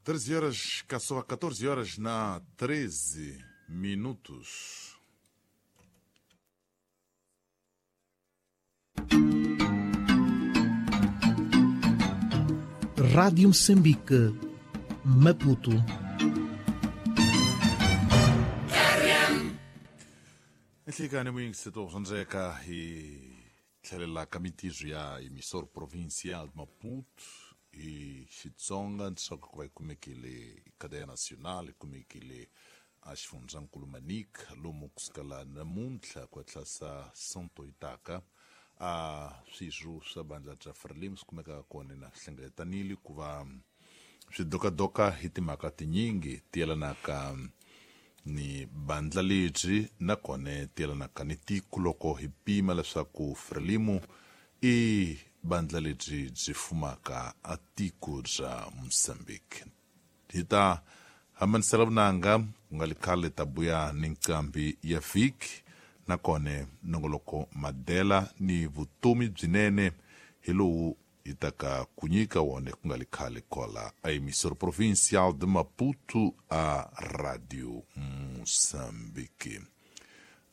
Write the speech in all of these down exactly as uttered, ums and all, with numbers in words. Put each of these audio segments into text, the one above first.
treze horas, caçou a catorze horas na treze minutos. Rádio Moçambique, Maputo. Nhlikani muyingiseti wa swandzeka hi tlhelela ka mintirho ya emissor provincial de Maputo hi Xitsonga leswaku ku va yi kumekile cadeia nacional yi kumekile a xifundzankulu Manica lomu kusukela namuntlha ku tlhasa Sonto yi taka a swirho swa bandla bya Frelimo swi kumekaka kona na hlengeletanile ku va swi dokadoka hi timhaka tinyingi ti yelanaka ni bandla lebyi nakona ti yelanaka ni tiko loko hi pima leswaku Frelimo i bandla lebyi byi fumaka a tiko bya Mozambique. Hi ta hambanisela vunanga ku nga li khale ta buya ni nqambi ya vhiki nakona nongoloko madela ni vutomi byinene hi lowu hi taka ku nyika wona ku nga li khale kola a emissora provincial de Maputo a Radio Moçambique.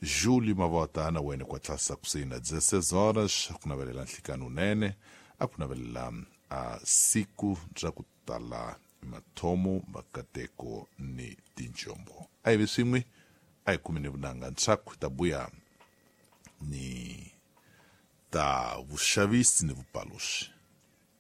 Júlio Mavota na wena kwa tlasa kusina dezesseis horas ku navelela nhlikani unene a ku navelela a siku bya ku tala mathomo makateko ni tinjombo. A hi vi swin'we a hi kumeni vunanga ntshaku ta buya ni ta vuxavisi ni vupaluxi.